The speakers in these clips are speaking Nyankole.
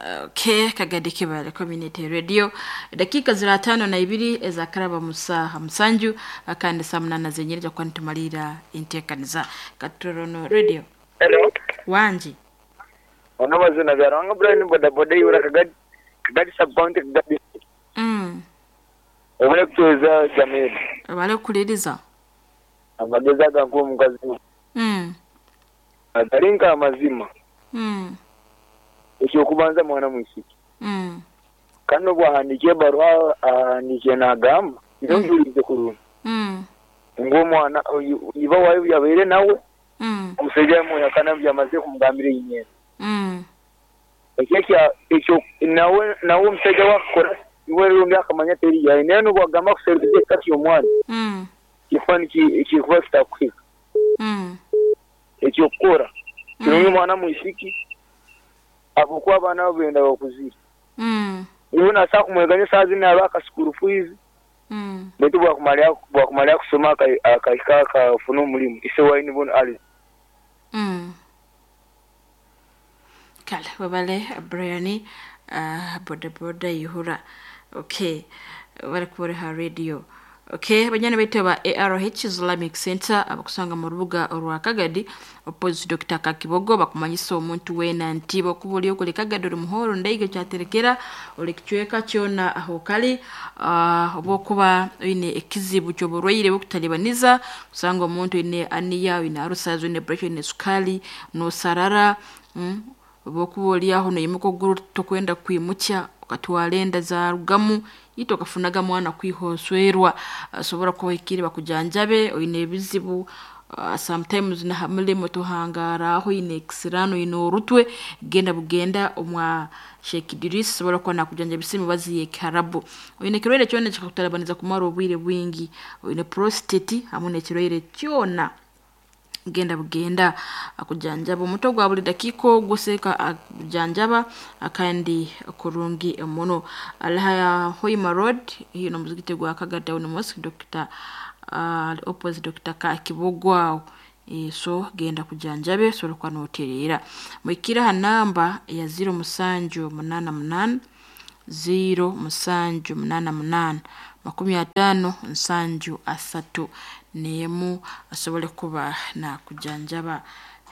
Okay, Kagadi Kibale Community Radio. Dakika zira 52 ezakaraba mu saaha 7 kandi saa 8 zenyereza kwa nitumalira enteekaniza. Katorono Radio. Hello. Wangi. Ono mazina Byaruhanga Brian bodaboda eibura Kagadi Kagadi sub county Kagadi. Webale kutuweza Jamil. Webale kukuliriza. Amagezi agankuwa omukazi agali nka amazima. Ekyokubanza mwana mwisiki. Kandi obu ahandiika ebaruha ahandiikire nagamba, nyowe mpuliize kurungi, ngu omwana oyu iba waayo obu yabaire nawe, omusaija yamwehakana ngu yamazire kumugambira einyeena. Ekyo ekyo nawe nawe omusaija waakukora iwe rundi akamanya teri yaye. Naye n'obu agamba akuserukize ekika ky'omwana, kikuba kirikuba kitakuhika. Eky'okukora kirungi omwana mwisiki ahabw'okuba abaana abo benda bakuzire. Iwe naasobola kumweganya esaaha zinu naaruha aka school fees, beitu obu akumara kusoma akahika akafuna omurimo, ise waine boona ari. Kale webale Brian bodaboda Ihura. Okay. Webale kuba ori ha radio. Okay, banyana baitu aba ARH Islamic Center abakusanga mu rubuga orwa Kagadi opposite Dr. Kakibogo bakumanyisa omuntu weena nti bwokuba ori okuri Kagadi ori muhoro ndaiga kyaterekera ori kicweka kyona aho kali obwokuba oine ekizibu ky'oburwaire bw'okutalibaniza kusanga omuntu oine aniya, oine ulcers, oine pressure, oine sukali, nosarara, obwokuba ori aho noimuka okuguru tokwenda kwimukya okatwara enda zarugamu itwe okafunaga mwana kwiha oswerwa osobora kuba ohikire bakujanjabe oine ebizibu sometimes naha mulimo tohangara aho oine ekisiraani oine orutwe genda bugenda omwa Sheikh Idris asobora kuba nakujanjabisa emibazi y'ekiharabu. Oine ekirwaire kyona ekikakutalibaniza kumara obwire bwingi, oine prostate hamu n'ekirwaire kyona genda bugenda akujanjaba omutwe gwa buli dakiika ogwo seeka akujanjaba kandi kurungi muno. Ali ha Hoima Road haihi n'omuzigiti gwa Kagadi Town Mosque Dr. Opposite Dr. Kakibogo aho. So genda akujanjabe osobole kuba nootereera. Muhikire ha namba eya 0788 0788 50 71 asobole kuba nakujanjaba.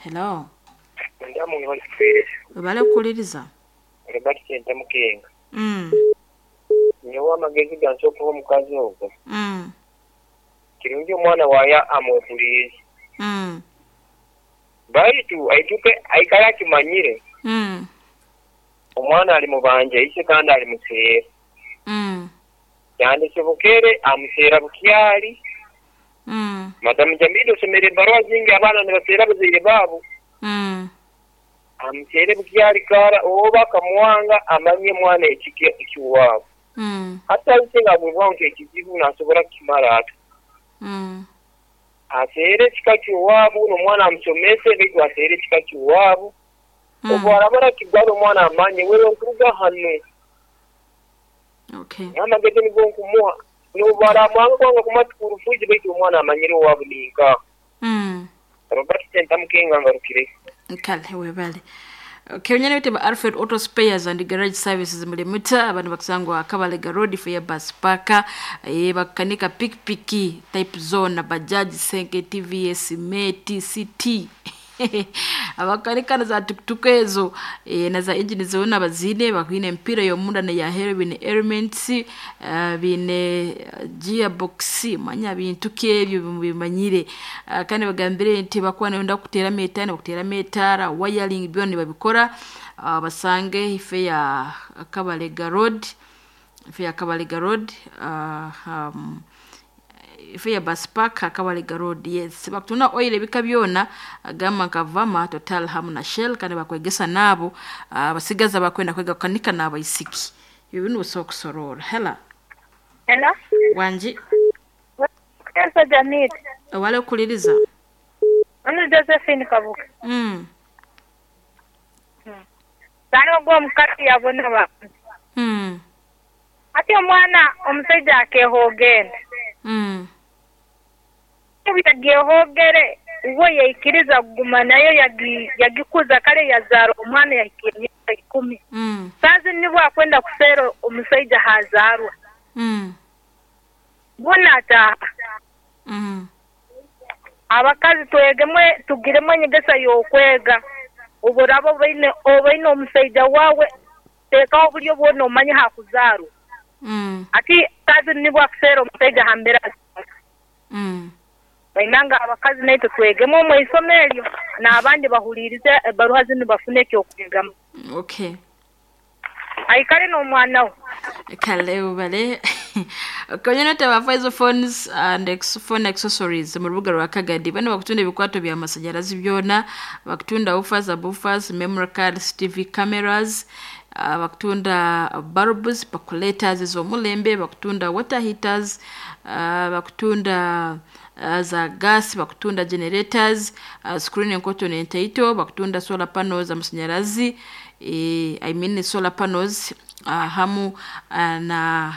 Hello. Webale kukuliriza. Robert Sentamu Mukenga. Nyowe amagezi gansi okuha omukazi ogwo. Kirungi omwana waayo amwehuriire. Baitu aituke aikare akimanyire. Omwana ali mubanja ise kandi ali museera. Yandisobokere amuseera bukyali. Madamu Jamil osomere ebaruha zingi abaana nibaseera abazaire baabo. Amuseere bukyali kara oba akamwanga amanye omwana ekika eky'owaabo. Hati ise nga agwibwaho nk'ekizibu nasobora kukimara ata? Aseere ekika ky'owaabo n'omwana amusomese baitu aseere ekika ky'owaabo. Obu araba arakigwara omwana amanye wewe nkuruga hanu. Okay. Amagezi nigo nkumuha. N'obu aramwanga kwanga kumuha school fees baitu omwana amanyire owaabo ninkaha. Robert Sentamu Mukenga ngarukire. Kale webale. Okay, onyana bete ba Alfred Auto Spares and Garage Services mulimuta abantu bakusangwa Kabalega Road Fair Bus Park bakanika pikipiki type zone Bajaj Senke TVS Mate CT abakanika na za tukutuku ezo na za engine zona bazine bakwine empira y'omunda neya hero bine elements bine gearbox manya bintu ki ebyo bimanyire kandi bagambire nti bakuba nibenda kuteeramu etaara nibakuteeramu etaara wiring byona nibabikora basange ife ya Kabalega Road ife ya Kabalega Road ife ya bus park Kabalega Road yes bakutunda oil ebika byona gamba nka Vama Total hamu na Shell kandi bakwegesa naabo abasigaza bakwenda kwega kukanika n'abaisiki ebyo binu osobola kusorora. Hela. Hello. Wangi. Elsa Jamil. Owale okukuliriza. Ono Josephine Kabuga. Sani ogwo omukazi yabona abantu. Ati omwana omusaija akehoogenda. Yagyehogere uwe yaikiriza kuguma nayo yagikuza kale yazaara omwana yahika emyaka 10. Bwakwenda kuseera omusaija hazaarwa. Bwona ataaha. Abakazi twegemwe tugiremu enyegesa y'okwega. Obu oraaba obaine omusaija waawe, teekaho oburyo bwona omanye hakuzaarwa. Ati kazi nibwo akuseera omusaija aha mbere azaarwa. Bainanga abakazi naitwe twegemu omu isomo eryo, n'abandi bahuliirize ebaruha zinu bafune eky'okwegamu. Okay. Aikale n'omwana we. Kale ubale konyene taba Faizo Phones and phone accessories mu rubuga rwa Kagadi. Bano bakutunda ebikwato bya masanyarazi byona, bakutunda woofers, subwoofers, memory cards, TV cameras, bakutunda bulbs, percolators ez'omulembe, bakutunda water heaters, bakutunda za gas, bakutunda generators, screen enkoto n'entaito, bakutunda solar panels amasanyarazi, I mean solar panels, hamu na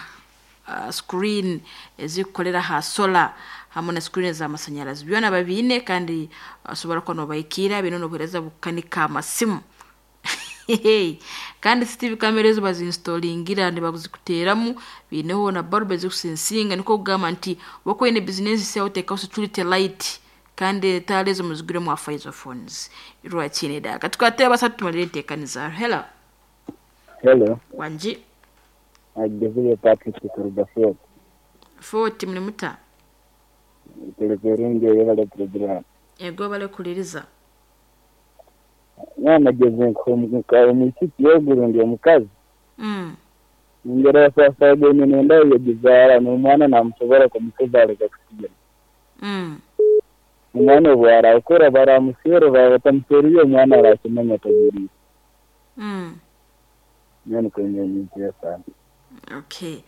screen ezikukolera ha solar hamu na screen ez'amasanyarazi. Byona babiine kandi osobora kuba nobahikiira baine n'obuheereza bw'okukanika amasimu. Kandi CCTV camera ezo bazinstallingira nibazikuteeramu, biineho na bulb ezikusensinga, nikwo kugamba nti wokuba oine bizinesi yawe oteekaho security light kandi etaara ezo muziguremu aha Faizo Phones. Rwakiine daaka. Tukwate basatu tumalire enteekaniza. Hello. Hello. Wangi. Agezire Patrick kuruga Fort. Fort muri muta? Tuli kurungi eyebale program. Ego bale kuliriza. Mwana geze omwisiki yogurundi omukazi. Ngera sasa nenda yagizaara n'omwana namusobora kumukuzaara kusigira. Omwana obu arakura baramuswera batamusweriye omwana arakimanya atagiriire. Nyowe nikwo sana. Okay.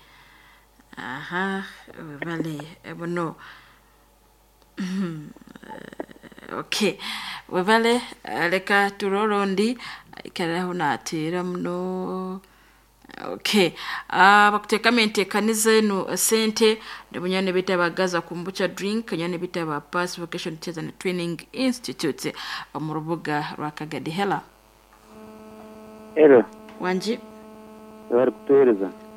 Aha, webale buno. Okay. Webale leka turore ondi ikaraho nateera muno. Okay. Bakuteekamu enteekaniza enu sente nibunyane bita bagaza kombucha drink nyane bita ba Pass Vocation Teachers and Training Institute omu rubuga rwa Kagadi. Hello. Hello. Wangi. Bari kutuheereza.